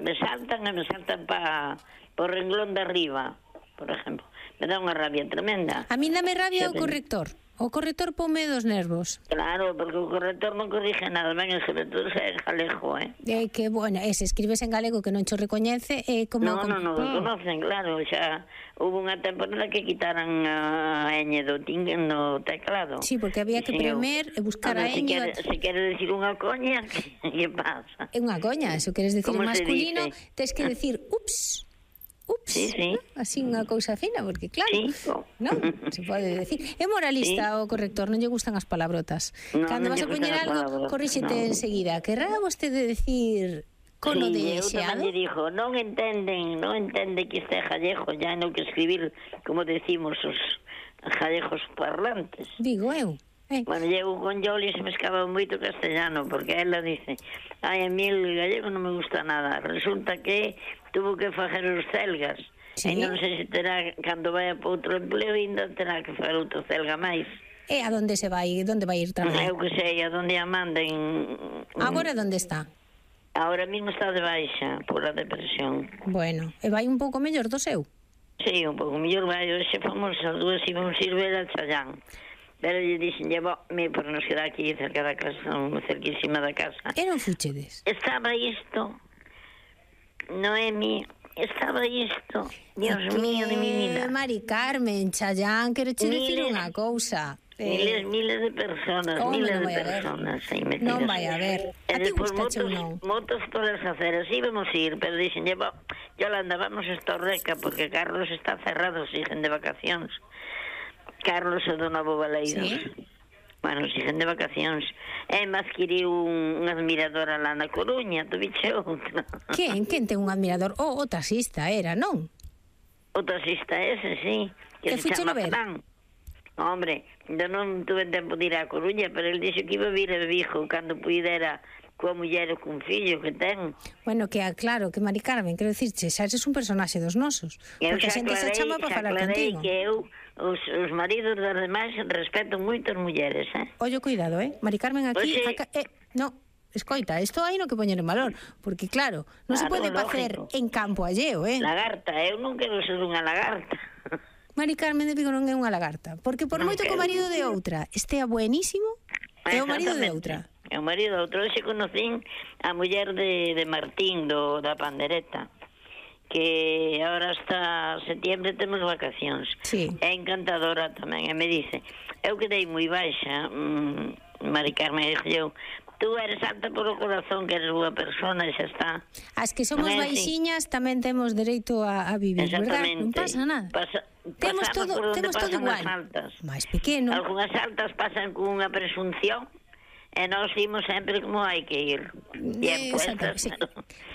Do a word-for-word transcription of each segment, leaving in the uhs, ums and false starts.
me saltan e me saltan para por renglón de arriba, por exemplo. Me dá unha rabia tremenda. A mí dame rabia o corrector. O corrector pome dos nervos. Claro, porque o corrector non corrige nada, ben, sobre todo se é galego, eh? É que, bueno, e se escribes en galego que non cho recoñece, é como... Non, non, non, oh. conocen, claro, xa hubo unha temporada que quitaran a ñ do tingue no teclado. Sí, porque había que premer e buscar a ñ. Se quere, se quere decir unha coña, que pasa? É unha coña, se queres decir en masculino, tens que decir, ups... Ups, sí, sí. Así unha cousa fina, porque claro, sí. non, se pode decir. É moralista sí. O corrector, non lle gustan as palabrotas. No, Cando non vas a poñer algo, corríxete no. enseguida. Querrá vostede decir cono sí, de eu xeado? tamén lle dixo, non entenden, non entende que este gallego, ya non que escribir, como decimos os gallegos parlantes. Digo eu. Eh. Bueno, llevo con Yoli se me escapa moito castellano, porque ela dice, ai, a mí el gallego non me gusta nada. Resulta que tuvo que facer os celgas. Sí. E non sei se terá, cando vai para outro empleo, ainda terá que facer outro celga máis. E a donde se vai? Donde vai ir traballar? Eu que sei, a donde a manden. Agora onde está? Ahora mismo está de baixa, por a depresión. Bueno, e vai un pouco mellor do seu? Sí, un pouco mellor vai. Hoxe fomos as dúas e vamos ir ver a Chayán. Pero lle dixen, llevo, me por nos queda aquí cerca da casa, cerquísima da casa. E non fuchedes? Estaba isto, Noemi, estaba isto, Dios que... mío de mi vida. Mari Carmen, Chayán, quero che dicir unha cousa. Miles, miles de personas, oh, miles no de personas aí metidas. Non vai a ver. A ti gustache ou non? Motos todas as aceras, íbamos ir, pero dixen, llevo, Yolanda, vamos a Estorreca, porque Carlos está cerrado, siguen de vacacións. Carlos e Dona Bobaleiros. Sí? Bueno, siguen de vacacións. E me adquiriu un, un admirador lá na Coruña, tu biche outra. Quen? Quen ten un admirador? O, oh, o taxista era, non? O taxista ese, sí. Que se chama Fran. Hombre, eu non tuve tempo de ir á Coruña, pero el dixo que iba a vir a Vigo cando puidera coa muller ou cun fillo que ten. Bueno, que claro, que Mari Carmen, quero dicirche, xa eres un personaxe dos nosos. Porque a xente se chama para falar contigo. Que eu, os, os maridos das demais, respeto moito as mulleres, eh? Ollo, cuidado, eh? Mari Carmen aquí... Oxe... Acá, eh, no, escoita, isto hai no que poñer en valor, porque claro, non claro, se pode facer en campo alleo, eh? Lagarta, eu non quero ser unha lagarta. Mari Carmen de Vigo non é unha lagarta, porque por non moito que o marido de outra estea buenísimo, é o marido de outra. É o marido de outro. Hoxe conocín a muller de, de Martín, do, da pandereta, que agora hasta setiembre temos vacacións. Sí. É encantadora tamén, e me dice, eu quedei moi baixa, mmm, Mari Carmen, dixo eu, tú eres alta por o corazón, que eres boa persona, e xa está. As que somos baixiñas tamén temos dereito a, a vivir, verdad? Non pasa nada. Pasa, temos todo, temos todo igual. Máis pequeno. Algunhas altas pasan con unha presunción, e nós imos sempre como hai que ir. Eh, exacto, sí.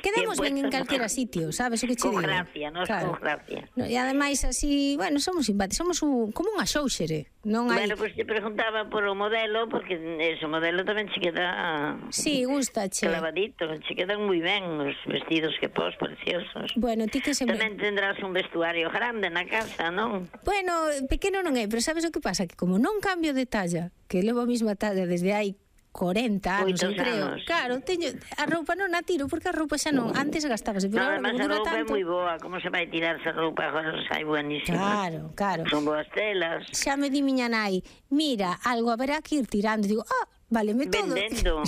Quedamos ben en calquera sitio, sabes o que che digo? Con gracia, nós claro. Con gracia. No, e ademais así, bueno, somos simpáticos, somos un, como unha xouxere, non hai... Bueno, pois pues te preguntaba por o modelo, porque ese modelo tamén che queda... Sí, gustache. Clavadito, che quedan moi ben os vestidos que pos, preciosos. Bueno, ti que sempre... Tamén tendrás un vestuario grande na casa, non? Bueno, pequeno non é, pero sabes o que pasa? Que como non cambio de talla, que levo a mesma talla desde hai corenta anos, eu creo. Anos. Claro, teño a roupa non a tiro porque a roupa xa non, antes gastábase, pero no, agora como dura tanto. A roupa é moi boa, como se vai tirar esa roupa agora sai buenísima. Claro, claro. Son boas telas. Xa me di miña nai, mira, algo haberá que ir tirando, digo, ah, váleme todo. Vendendo.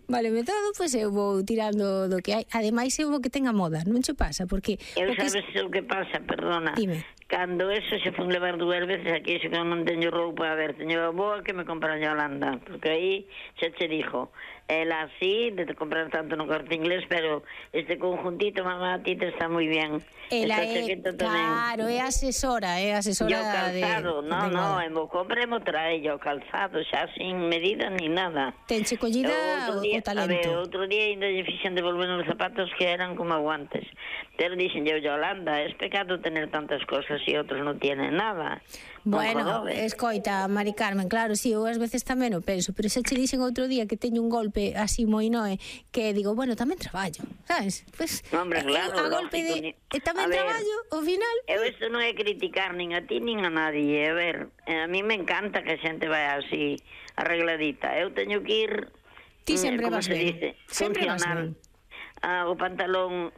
Váleme todo, pois pues eu vou tirando do que hai. Ademais eu vou que tenga moda, non che pasa, porque eu o que sabes es... o que pasa, perdona. Dime. Cando eso se fun levar dúas veces aquí, se que non teño roupa, a ver, teño a boa que me compra a Yolanda, porque aí xa che dixo, ela así, de comprar tanto no Corte Inglés, pero este conjuntito, mamá, a ti te está moi bien. Ela é, claro, é asesora, é asesora de... E o calzado, de, no, de no, e mo compre, mo trae o calzado, xa sin medida ni nada. Tenche collida o, día, o talento. A ver, outro día ainda lle fixen devolver os zapatos que eran como aguantes. Pero dixen yo, Yolanda, es pecado tener tantas cosas e outros non tienen nada. Bueno, escoita, Mari Carmen, claro, sí, eu ás veces tamén o penso, pero xa che dixen outro día que teño un golpe así moi noe, que digo, bueno, tamén traballo, sabes? Pues, no, hombre, claro, a golpe de ni... e tamén ver, traballo, ao final... Eu isto non é criticar nin a ti nin a nadie, a ver, a mí me encanta que a xente vai así arregladita, eu teño que ir... Ti sempre vas ben, dice, sempre vas ben. Ah, o pantalón